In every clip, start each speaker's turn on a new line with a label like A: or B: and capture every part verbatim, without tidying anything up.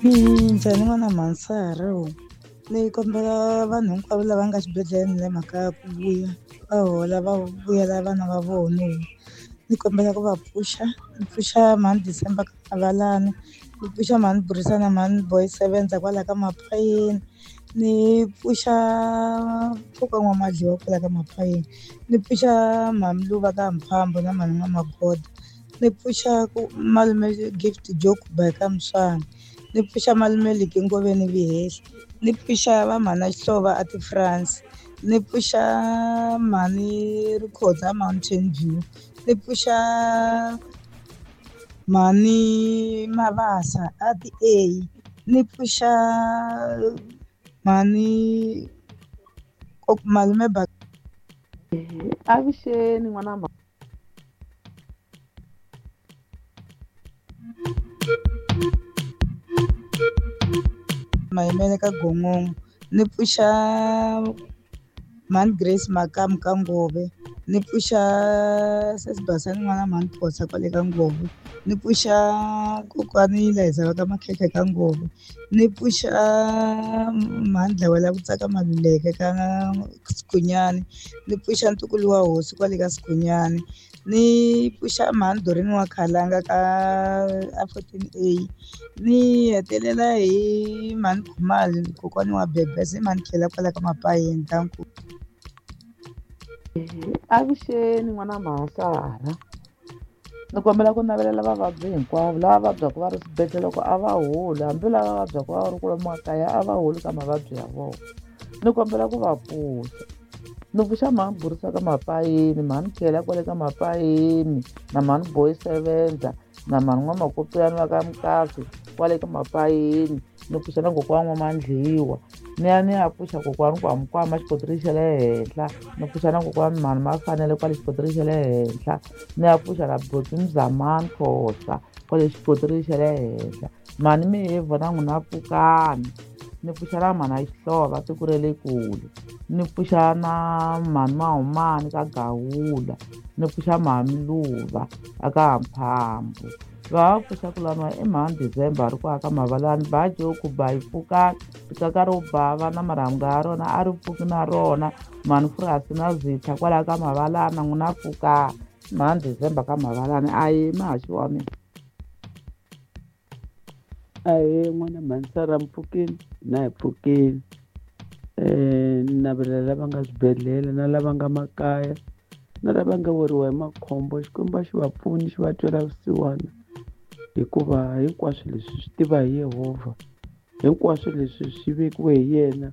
A: Minjhani n'wana Mhansara ni kombela vanhu hinkwavo lava nga xibedhlele ni le makaya ku vuya va hola va vuyela vana va vona. Ni kombela ku va pfuxa ni pfuxa mhani December ka Mavalani ni pfuxa mhani Burisana mhani Boy sevenza kwala ka Mapayeni ni pfuxa Pfuka N'wamadliwa kwala ka Mapayeni ni pfuxa mhani Luva ka Mphambo na mhani N'wamagoda ni pfuxa ku malume Gift Joke by ka Muswana ni pfuxa malume Liki Ngoveni Vihehla ni pfuxa va mhana Xihlovo a ti France ni pfuxa mhani Rikhotsa Mountain View ni pfuxa mhani Mabasa a ti A ni pfuxa mhani malume ba
B: Avuxeni n'wana ma
A: Mayimele ka Gongongo ni pfuxa mhani Grace Makamu ka Ngove ni pfuxa sesi Basani n'wana mhani Phosa kwale ka Ngove ni pfuxa kokwani Laiza va ka Makhekhe ka Ngove ni pfuxa mhani Dlawela ku tsaka Maluleke ka Sikhunyani ni pfuxa ntukulu wa hosi kwale ka Sikhunyani ni pfuxa mhani Doreen wa Khalanga ka a fourteen A ni hetelela hi mhani Khumalo kokwani wa Bebese mhani Khela kwala ka Mapayeni danko.
B: Avuxeni n'wana Mhansara ni kombela ku navelela vavabyi hinkwavo lava vabyaka va ri swibedhlele loko a va holi hambi lava vabyaka va ri kwalomu makaya a va holi ka mavabyi ya vona ni kombela ku va pfuxa ni pfuxa mhani Burisa ka Mapayeni mhani Khela kwale ka Mapayeni na mhani Boy Sevenza na mhani N'wamakopiyani va ka Mukasi kwale ka Mapayeni ni pfuxa na kokwana N'wamandliwa ni ya ni ya pfuxa kokwani Kwamkwama xikontiri xa le henhla ni pfuxa na kokwani mhani Mafanele kwale xikontiri xa le henhla ni ya pfuxa na buti Mzamani Khosa kwale xikontiri xa le henhla mhani Mihevhu na n'wina pfukani ni pfuxa na mhana Xihlovo tiko ra le kule ni pfuxa na mhani Mahumani ka Gawula ni pfuxa mhani Luva aka Mphambo va pfuxa ku laniwa i mhani December ri ku aka Mavalani ba joku ba yi pfukani rikaka ro bava na marhambu ya rona a ri pfuki na rona mhani Furasi na Zitha kwalaho ka Mavalani na n'wina pfukani mhani December ka Mavalani a yimi haxi wa mina.
C: Ahee n'wana Mhansara mpfukeni na hi pfukeni um ni navelela lava nga swibedhlele na lava nga makaya na lava nga weriwa hi makhombo Xikwembu a xi va pfuni xi va twela vusiwana hikuva hinkwaswo leswi swi tiva hi Yehovha hinkwaswo leswi swi vekiwe hi yena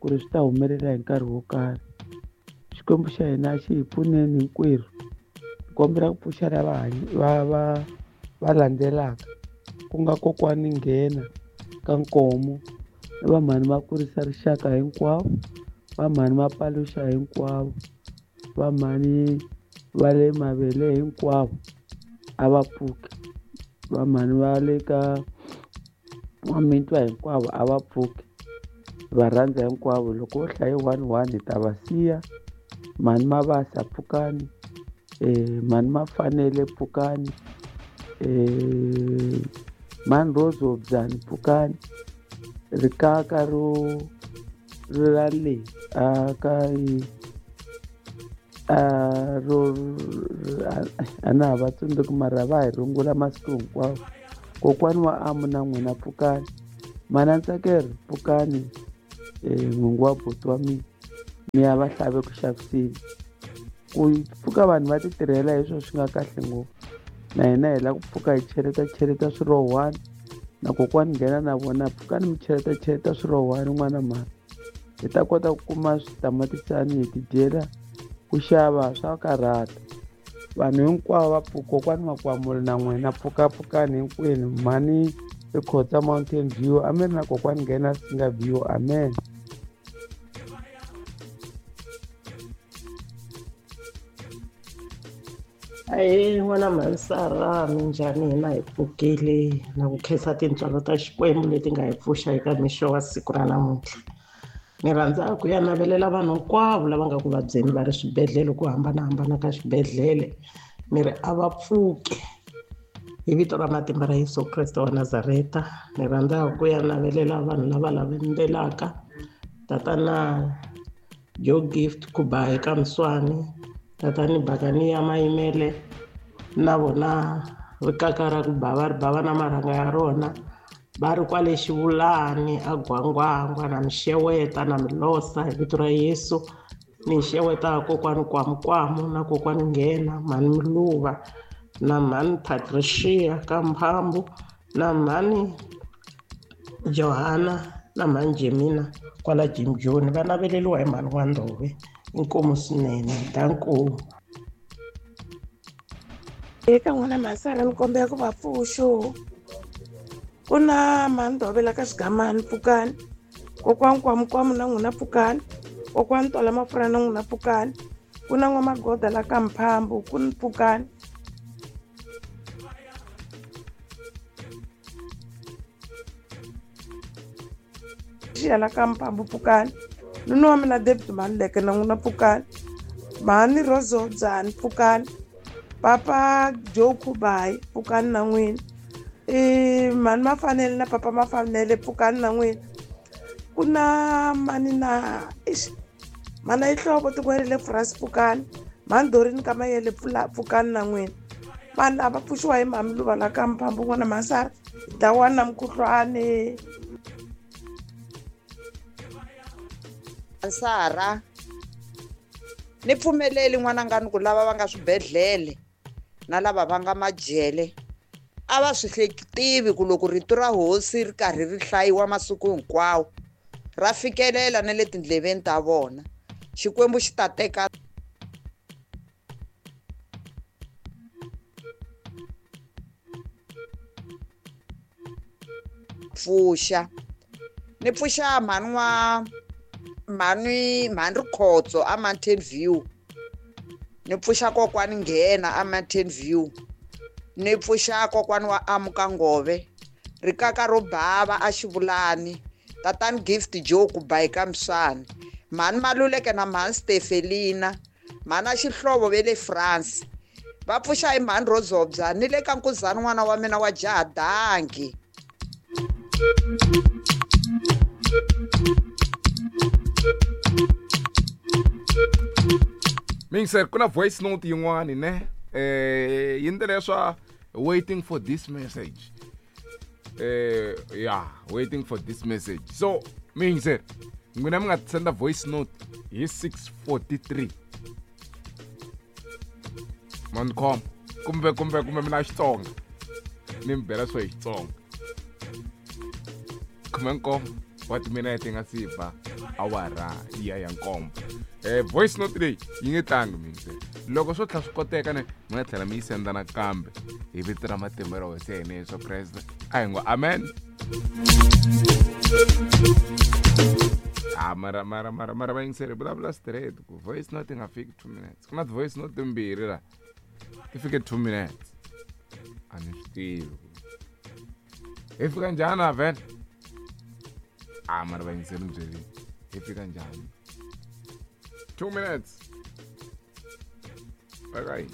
C: ku ri swi ta humelela hi nkarhi wo karhi Xikwembu xa hina a xi hi pfuneni hinkwerhu hi kombela ku pfuxa lava va va va landzelaka ku nga kokwani Nghena ka Nkomo na va mhani va kurisa rixaka hinkwavo va mhani va paluxa hinkwavo va mhani va le mavele hinkwavo a va pfuki va mhani va le ka N'wamitwa hinkwavo a va pfuki va rhandza hinkwavo loko wo hlaye one one hi ta va siya mhani Mabasa pfukani um mhani Mafanele pfukani um mhani Rose Hobyani pfukani rikaka ro ra le a ka a ro a na ha va tsundzuki mara va hi rungula masiku hinkwawo kokwani wa Amu na n'wina pfukani mhana Ntsakelo pfukani um n'wingi wa buti wa mina mi ya va hlave ku xaviseni ku pfuka vanhu va ti tirhela hi swona swi nga kahle ngopfu na hina hi lava ku pfuka hi cheleta cheleta swirowani na kokwani Nghena na vona pfukani mi cheleta cheleta swirowani n'wana mhani hi ta kota ku kuma switamatisani hi tidyela ku xava swa karhata vanhu hinkwavo va pfuka kokwani Makwamula na n'wina pfukapfukani hinkwenu mhani Rikhotsa Mountain View amen na kokwani Nghena Singa View amen.
D: Ahee n'wana Mhansara minjhani hina hi pfukile na ku khensa tintswalo ta Xikwembu leti nga hi pfuxa eka mixo wa siku ra namuntlha ni rhandza ku ya navelela vanhu hinkwavo lava nga ku vabyeni va ri swibedhlele ku hambanahambana ka swibedhlele ni ri a va pfuki Hi vito ra matimba ra Yesu Kreste wa Nazareta, ni rhandza ku ya navelela vanhu lava lavendelaka tatana Joe Gift Kuba eka Mswani, tatani Bakani ya Mayimele na vona rikaka ra ku bava ri bava na marhanga ya rona va ri kwale Xivulani a Gwangwangwa na Mixeweta na Milosa hi vito ra Yesu. Ni xeweta kokwani Kwamukwamu na kokwani Nghena, mhani Miluva na mhani Patricia ka Mphambu na mhani Johanna na mhani Jemina kwala Jim Joni, va naveleliwa hi mhani wa Ndove. Inkomu swinene, danko.
E: Eka n'wana Masara ni kombela ku va pfuxo. Ku na mhani Ndove la ka Xigamani, pfukani. Kokwani Kwamukwamu na n'wina pfukani. Kokwani Tola Mafurha na n'wina pfukani. Ku na N'wamagoda la ka Mphambu, ku ni pfukani. La ka Mphambu pfukani. Nuna wa mina David Maluleke na n'wina pfukani. Mhani Rozo Dzani pfukani. Papa Joe Kubai pfukani na n'wina. E mhani Mafanele na papa Mafanele pfukani na n'wina. Ku na mani na ixi mana Ihlobo tikwerile France pfukani. Mhani Dorini ka Mayele pfukani na n'wina. Vanhu lava pfuxiwa hi mhani Luva la ka Mphambu n'wana Masara dawana na mukhuhlwani.
F: Sara ni pfumeleli n'wananga ni ku lava va nga swibedhlele na lava va nga majele a va swi hleketivi ku loko rito ra hosi ri karhi ri hlayiwa masiku hinkwawo ra fikelela na le tindleveni ta vona. Xikwembu xi ta teka pfuxa ni pfuxa mhani wa mhani mhani Rikhotso a Mountain View, ni pfuxa kokwani Nghena a Mountain View, ni pfuxa kokwani wa Amuka Ngove rikaka ro bava a Xivulani, tatani Gift Joe Kubai ka Mswani, mhani Maluleke na mhani Stefelina, mhani a Xihlovo ve le France va pfuxa hi mhani Rozobya ni le ka Nkuzani n'wana wa mina wa jaha danki.
G: Mingser, kuna voice note yin'wani ne eh yi ndlela swa waiting for this message. Eh yeah, waiting for this message. So mingser, n'wina mi nga senda voice note hi six forty-three. Mancom kumbe kumbe kumbe mina Xitsonga. Ni mi bela swa Xitsonga. Khume nkombo wa timinete nga si ba awara ya ya nkombo. Eh voice note leyi yi nge tlangi mingser. Loko swo tlhela swi koteka ne mi nga tlhela mi yi senda nakambe hi vito ra matimba ra Hosi ya hina Yesu Kreste. A hi ngo amen. Ah mara mara mara mara va yingiseri vulavula straight ku voice note yi nga fiki two minutes. Ku na voice note timbirhi la ti fike two minutes. A ni swi tivi hi fika njhani a vhele. Ah mara va yingiseri ni byelini hi fika njhani two minutes. Bye bye.